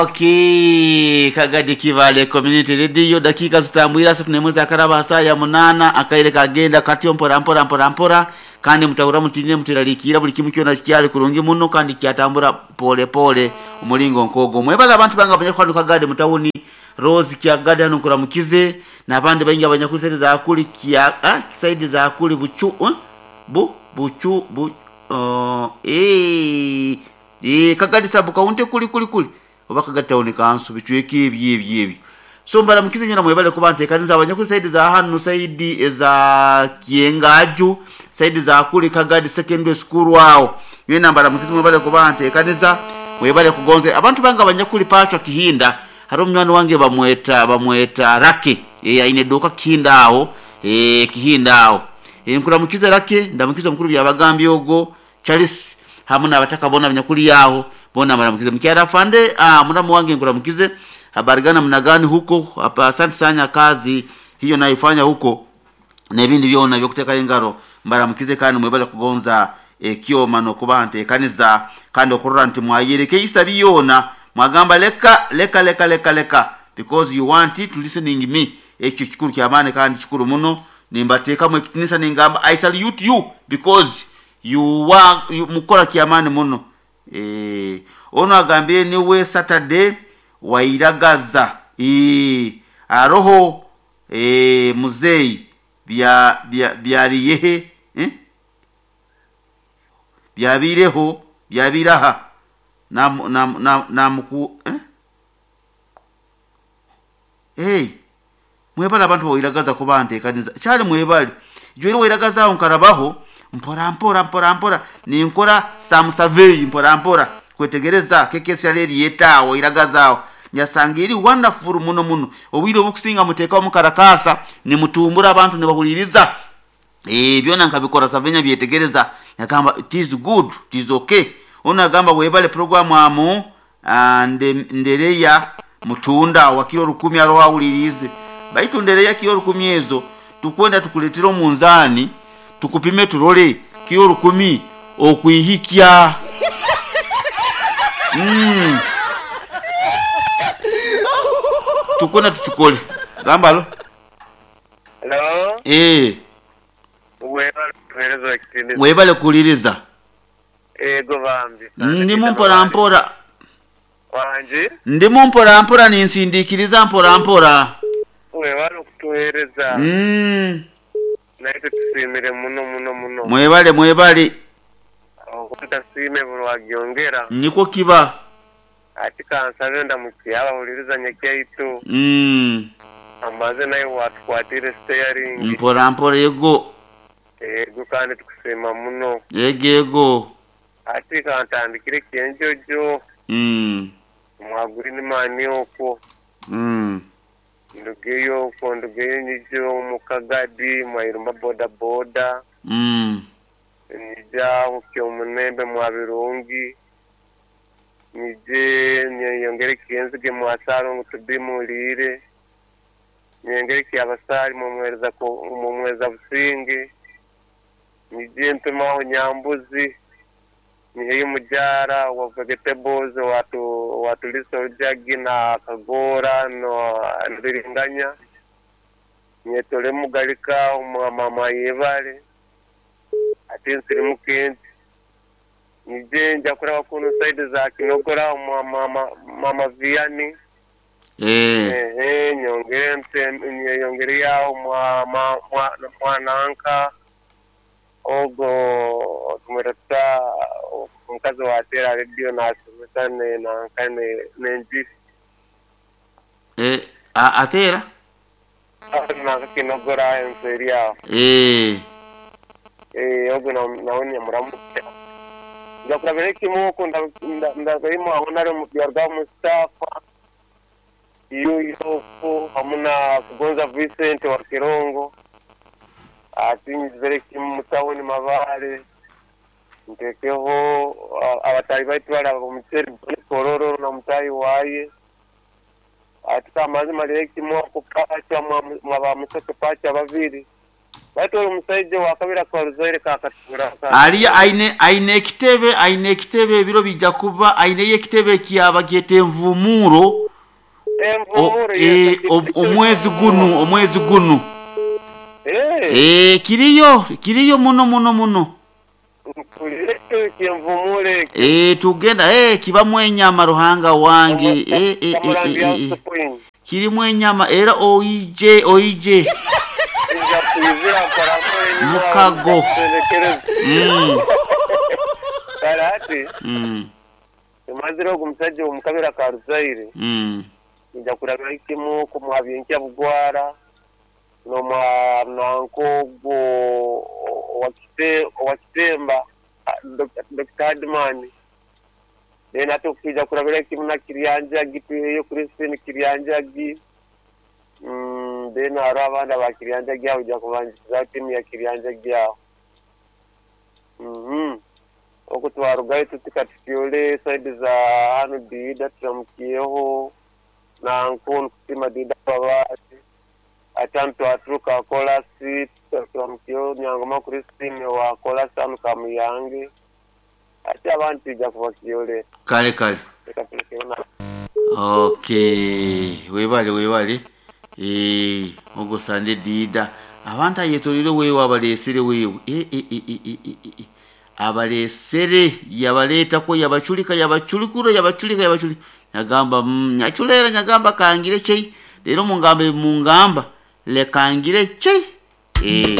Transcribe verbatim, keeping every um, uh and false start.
Okay, Kagadi Kivale Community Radio, dakika zitambwira asatu n'emwe zakaraba saa ya munana akaire kagenda katyo mpora mpora mpora mpora, kandi mutahura mutine mutiralikira buli kimu kyona kyali kurungi muno kandi kyatambura pole pole omulingo nkogo. Mwebale abantu banga abanyakwano Kagadi mutawuni Rose Kyagadi hano nkuramukize n'abandi baingi abanyakusente za kuli kya ah, saidi za kuli buchu eh? bu buchu bu uh, eh eh Kagadi sabu kaunte kuli kuli kuli oba Kagadi town council bicweka ebyo ebyo ebyo. So mbaramukize nyina mwebale kuba nteekaniza abanyaku saidi za hano saidi eza Kyengaju saidi za kuli Kagadi Secondary School awo nyina mbaramukize mwebale kuba nteekaniza mwebale kugonze abantu banga abanyakuli pachwa Kihinda. Haro mnywana wange bamweta bamweta Rake eh aine doka Kihinda aho eh Kihinda aho eh nkuramukize Rake ndamukize mukuru byabagambye ogo Charles hamwe n'abataka bona abanyakuli yaho bona baramukize mkyara fande ah muramu wange nkuramukize habari gani mna gani huko hapa. Asante sana kazi hiyo naifanya huko na ibindi byona byokuteka ingaro mbaramukize kandi mwebale kugonza ekyoma nokuba nteekaniza kandi okurora nti mwayereke isabi yona mwagamba leka leka leka leka leka because you want it listening me. Ekyo kikuru kyamaani kandi kikuru muno nimbateekamu ekitinisa ningamba I salute you because you are you, mukora kyamaani muno. Eh ono agambye niwe Saturday wairagaza eh aroho eh muzei bya bya byariyehe eh byabireho byabiraha na na na, na muku eh hey mwebale abantu wairagaza kuba nteekaniza kyali mwebale jweri wairagaza aho nkarabaho mpora mpora mpora mpora ninkora some survey mpora mpora kwetegereza kekesi yali yeta wairagaza aho nyasanga eri wonderful muno muno obwire obukusinga muteeka omukarakasa nimutumbura abantu nibahuliriza eh byona nkabikora savenya byetegereza nyagamba it is good it is okay. Ono agamba webale program amu ande ndereya mutunda wakiro rukumi aro awulirize baitu ndereya kiro rukumi ezo tukwenda tukuletera omunzani tukupime turole kiro rukumi okwihikya mm. Tukwenda tuchukole gambalo. Hello. Eh webale kuhereza ekitindi webale kuliriza ego bambi ndimu mpora mpora wanje ndimu mpora mpora ninsindikiriza mpora mpora webale okutuhereza mm. naitwe tusimire muno muno muno mwebale mwebale okutasime buli wagyongera niko kiba ati kansabe ndamukiye abahuliriza nyekyaitu mm. amaze naye watukwatire steering mpora mpora ego ego kandi tukusima muno ego ego ati kantandikire kyenjojo mm. mwaguri nimani okwo mm. ndugeyo okwo ndugeyo nyijo mukagadi mwairumba boda boda mm. nija kyomunembe mwabirungi nije nyeyongere kyenzige mwasaro ngu tubimulire nyengere kyabasali mumwereza mumwereza businge nije ntumaho nyambuzi niheyo mujara wa vegetables watu watulisa ojagi na kagora no nbiringanya nyetole mugalika mama yebale ati nsiri mukenti nije nja kuraba kuno side za Kinogora mama mama Viani eh eh nyongere mte nyongere yao mwa mwa mwananka ogo tumereta omukazi watera radio nasomesa ne nanka ne nenji eh atera nanka Kinogora enseri yao eh eh ogo na naonya muramu njakurabere kimuko ndagaimo abonare mu byarga Mustafa iyo yoko hamuna kugonza Vincent wa Kirongo ati nzere kimutawuni Mabale ntekeho abatali baitu bali omuceeri kororo na mutayi waye ati kamazi malire kimwako pacha mwaba museke pacha babiri Baitu oli omusaija owakabiri akaruzaire kakatura. Aliya aine aine ekitebe, aine ekitebe ebiro bijja kuba aineyo ekitebe kyabagyeta envumuro. O- Envumuro. eh, om- omwezi gunu, omwezi gunu. Eh, Eh, kiriyo kiriyo muno muno muno. Mpulire kyenvumuro eki. Eh, tugenda eh, kibamu enyama ruhanga wange. Eh, eh, eh, Kamurambi eh, eh, eh. House. Kirimu enyama era oije oije. Nja kuizira mpora mpora enyuma. Mukago. Mm, Kale ati mm, tumazire ogu musajja omukabira karuzaire mm. nja kurabira kimu kumwabyenkya bugwara nomwa nanko ogwo owakite owakitemba Doctor Hadman, then ate okuija kurabira kimu na Kiryanjagi, tuheyo Christine Kiryanjagi. mm, then hariho abandi aba Kiryanjagi aho ojja kubangiza timu ya Kiryanjagi aho. mhm oku twarugayo tutika tutyole side za hanu Diida, turamukiyeho nanko nkusiima Diida babaasi ati hanu twaturuka kolasi, turamukiyeho Nyangoma Christine wa kolasi hanu Kamuyange, ati abantu tija kubakyole. Kale kale. Reka tulekeho na. Okay, webale webale. Eh, ogwo sande Diida abantu ayetolire weewe abalesere weewe. Eh, eh, eh, eh, eh, eh, eh. Abalesere yabaleetako, yabaculika, yabaculikura, yabaculika, yabaculika, nyagamba mm, nyaculera nyagamba kangire chei leero mungamba mungamba lekangire chei eh.